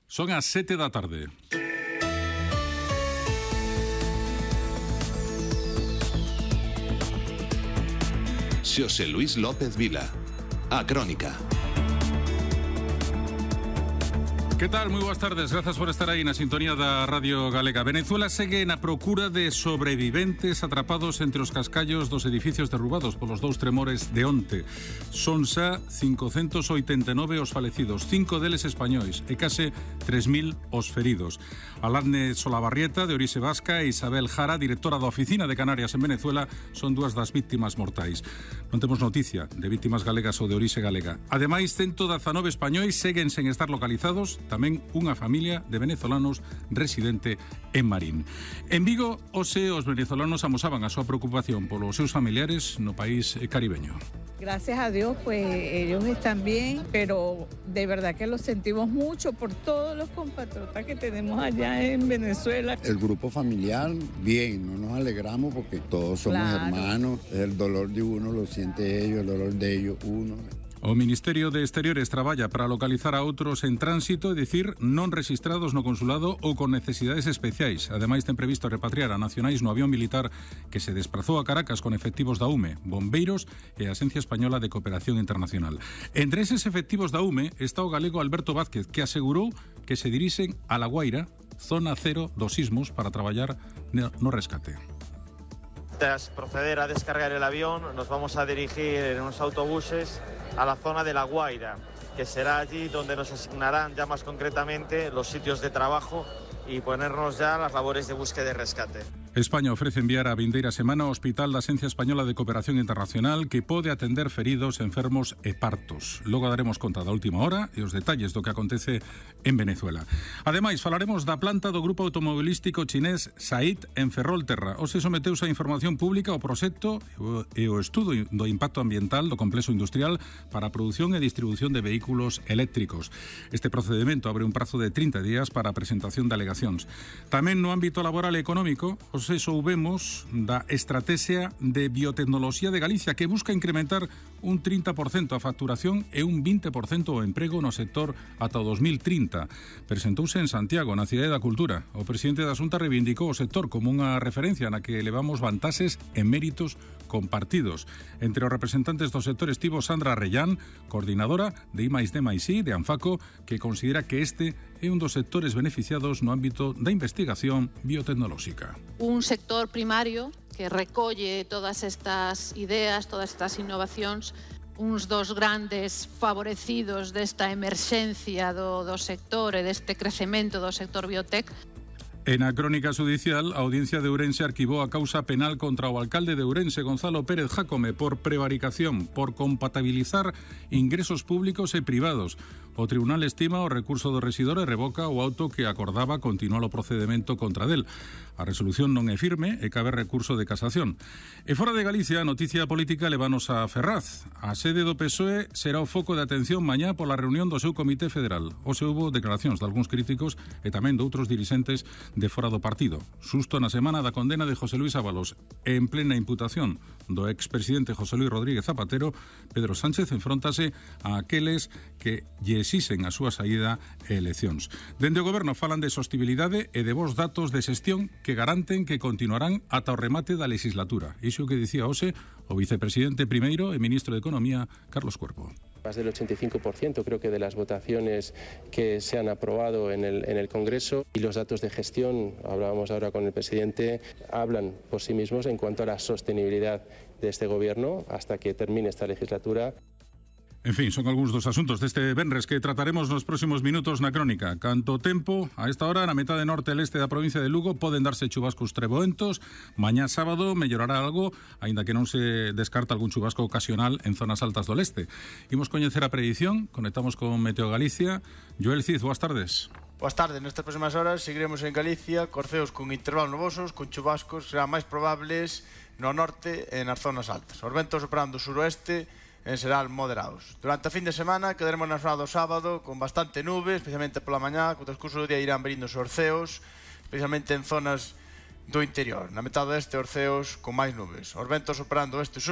Son as 7 da tarde. Xosé Luis López Vila, A Crónica. Que tal? Moi boas tardes, grazas por estar aí na sintonía da Radio Galega. Venezuela segue na procura de sobreviventes atrapados entre os cascallos dos edificios derrubados polos dous tremores de onte. Son xa 589 os falecidos, 5 deles españois e case 3.000 os feridos. Aladne Solabarrieta, de orixe vasca, e Isabel Jara, directora da Oficina de Canarias en Venezuela, son dúas das víctimas mortais. Non temos noticia de víctimas galegas ou de orixe galega. Ademais, 119 españois seguen sen estar localizados, tamén unha familia de venezolanos residente en Marín. En Vigo, hoxe os venezolanos amosaban a súa preocupación polos seus familiares no país caribeño. Gracias a Dios, pues ellos están bien, pero de verdad que lo sentimos mucho por todos los compatriotas que tenemos allá en Venezuela. El grupo familiar, bien, no nos alegramos porque todos somos hermanos, el dolor de uno lo siente ellos, el dolor de ellos uno. O Ministerio de Exteriores traballa para localizar a outros en tránsito, é dicir, non rexistrados no consulado ou con necesidades especiais. Ademais, ten previsto repatriar a nacionais no avión militar que se desplazou a Caracas con efectivos da UME, bombeiros e a Axencia Española de Cooperación Internacional. Entre eses efectivos da UME está o galego Alberto Vázquez, que asegurou que se dirixen a La Guaira, zona cero dos sismos, para traballar no rescate. Tras proceder a descargar el avión, nos vamos a dirigir en unos autobuses a la zona de La Guaira, que será allí donde nos asignarán ya más concretamente los sitios de trabajo y ponernos ya a las labores de búsqueda y rescate. España ofrece enviar a vindeira semana ao Hospital da Axencia Española de Cooperación Internacional, que pode atender feridos, enfermos e partos. Logo daremos conta da última hora e os detalles do que acontece en Venezuela. Ademais, falaremos da planta do grupo automobilístico chinés SAIC en Ferrolterra. Hoxe someteuse a información pública o proxecto e o estudo do impacto ambiental do complexo industrial para a produción e distribución de vehículos eléctricos. Este procedimento abre un prazo de 30 días para a presentación de alegacións. Tamén no ámbito laboral e económico, soubemos da Estrategia de Biotecnoloxía de Galicia, que busca incrementar un 30% a facturación e un 20% o emprego no sector ata o 2030. Presentouse en Santiago, na Cidade da Cultura. O presidente da Xunta reivindicou o sector como unha referencia na que levamos vantaxes e méritos compartidos. Entre os representantes do sector estivo Sandra Rellán, coordinadora de I+D+I de Anfaco, que considera que este é un dos sectores beneficiados no ámbito da investigación biotecnolóxica. Un sector primario que recolle todas estas ideas, todas estas innovacións, uns dos grandes favorecidos desta emerxencia do sector e deste crecemento do sector biotec. En a crónica judicial, a Audiencia de Ourense arquivou a causa penal contra o alcalde de Ourense, Gonzalo Pérez Jácome, por prevaricación, por compatibilizar ingresos públicos e privados. O tribunal estima o recurso do rexidor e revoca o auto que acordaba continuar o procedemento contra del. A resolución non é firme e cabe recurso de casación. E fora de Galicia, a noticia política levanos a Ferraz. A sede do PSOE será o foco de atención mañá pola reunión do seu Comité Federal. Hoxe houbo declaracións de algúns críticos e tamén de outros dirixentes de fora do partido. Susto na semana da condena de José Luis Ábalos en plena imputación do expresidente José Luis Rodríguez Zapatero. Pedro Sánchez enfróntase a aqueles que lle exixen a súa saída e eleccións. Dende o goberno falan de sostibilidade e de bons datos de xestión que garanten que continuarán ata o remate da legislatura. Iso que dicía hoxe o vicepresidente primeiro e ministro de Economía, Carlos Cuerpo. Más del 85% creo que de las votaciones que se han aprobado en el Congreso, y los datos de gestión, hablábamos ahora con el presidente, hablan por sí mismos en cuanto a la sostenibilidad de este gobierno hasta que termine esta legislatura. En fin, son algúns dos asuntos deste venres que trataremos nos próximos minutos na crónica. Canto tempo, a esta hora, na metade norte e leste da provincia de Lugo, poden darse chubascos treboentos. Mañá sábado mellorará algo, aínda que non se descarta algún chubasco ocasional en zonas altas do leste. Imos coñecer a predición, conectamos con Meteo Galicia. Joel Cid, boas tardes. Boas tardes, nestas próximas horas seguiremos en Galicia, corceos con intervalos nubosos, con chubascos serán máis probables no norte e nas zonas altas. Os ventos soprando suroeste en xeral moderados. Durante a fin de semana quedaremos na zona do sábado con bastante nube, especialmente pola mañá, co transcurso do día irán verindo os orceos, especialmente en zonas do interior. Na metade deste orceos con máis nubes. Os ventos soprando este sur